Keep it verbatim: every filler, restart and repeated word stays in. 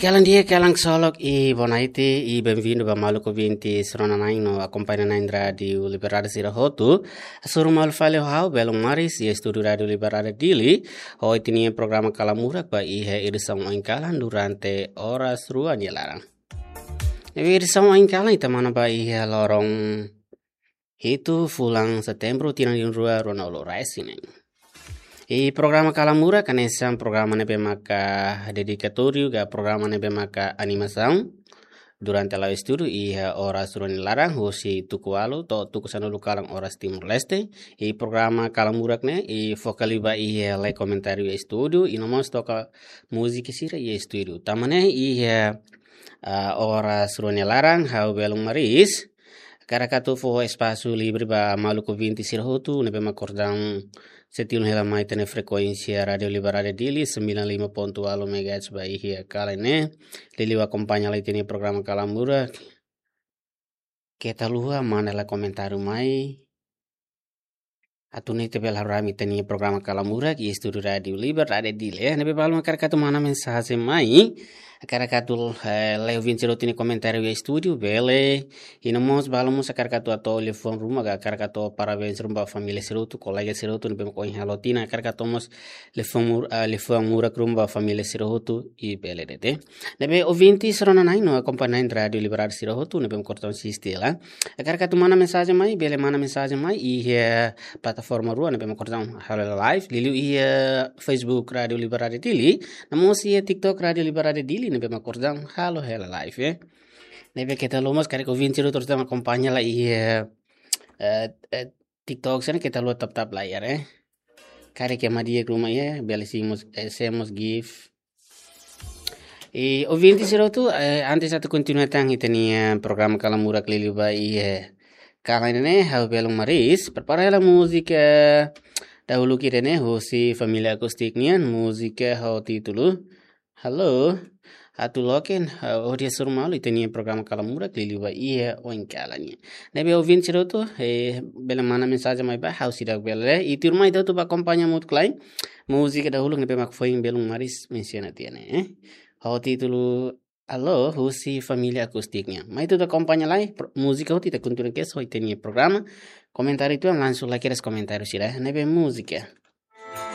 Kalan di'ak, kalan ksolok, i bonaite, i benvindu ba maluk ouvinte sira-nia nain no akompaña nain Rádiu Liberdade sira hotu. Hasoru malu fali ho ha'u, Belun Maris, iha estúdiu Rádiu Liberdade Dili, ho ita-nia programa Kalamurak ba iha edisaun oin kalan durante oras rua nia laran. Ne'ebé edisaun oin kalan ita manán ba iha loron hitu fulan Setembru tinan rihun rua ruanulu-resin-neen. I programa Kalamurak hanesan programa ne'ebé maka dedikatóriu ka programa ne'ebé maka animasaun durante la'o estudu iha oras rua nia laran husi tuku ualu to'o tuku sanulu kalan oras Timor-Leste. I programa Kalamurak ne'e i foka liu ba iha lee komentáriu iha estúdiu i no mós toka múzika sira iha estúdiu. Tanba ne'e iha, ah, oras rua nia laran ha'u Belun Maris hakarak atu fó espasu livre ba maluk ouvinte sira hotu ne'ebé mak kordang sei tilun hela mai ita-nia frekuénsia Rádiu Liberdade Dili sembilan lima ponto ualu megahertz ba iha kalan ne'e, liuliu akompaña lai ita-nia programa Kalamurak. Keta haluha manda lai komentáriu mai atu nune'e ita bele haree ami ita-nia programa Kalamurak iha estúdiu Rádiu Liberdade Dili, eh. Ne'ebé balu mak hakarak atu manda mensajen mai, hakarak atu, eh, lee ouvinte sira hotu nia komentáriu iha estúdiu, bele. I no mós balu mós hakarak atu hato'o liafuan ruma ka hakarak atu parabéns ruma ba família sira hotu, kolega sira hotu ne'ebé mak ohin halo tinan, hakarak atu mós liafuan mur-, ah, liafuan murak ruma ba família sira hotu, i bele de'it. Ne'ebé ouvinte sira-nia nain no akompaña nain Rádiu Liberdade sira hotu ne'ebé mak kordang asiste hela, hakarak atu manda mensajen mai, bele manda mensajen mai iha plataforma rua ne'ebé mak kordang halo hela live, liuliu iha Facebook Rádiu Liberdade Dili, no mós iha TikTok Rádiu Liberdade Dili ne'ebé mak kordang halo hela live, eh. Ne'ebé keta haluha mós karik ouvinte sira hotu mak akompaña lai iha, eh, eh, TikTok sira ne'e keta haluha tap-tap layar, eh. Karik ema di'ak ruma iha, bele simu mós, eh, share mós gift. I ouvinte sira hotu, eh, antes atu kontinua tan ita-nia programa Kalamurak liuliu ba iha kalan ne'e, ha'u Belun Maris prepara hela múzika dahuluk ida-ne'e husi Família Akustik nian, múzika ho títulu Halo, atu loke, eh, hodi hasoru malu ita-nia programa Kalamurak liuliu ba iha oin kalan nian. Ne'ebé ouvinte sira hotu, eh, bele manda mensajen mai ba ha'u seidauk bele lee, i tuirmai ita hotu bá akompaña hamutuk lai múzika dahuluk ne'ebé mak foin Belun Maris mensiona tiha ne'e, eh. Ho títulu Halo, husi Família Akustik nian. Mai ita hotu akompaña lai pro-, múzika hotu ita kontinua kedas ho ita-nia programa. Komentáriu ita langsung lai kedas komentáriu sira, ne'ebé múzika.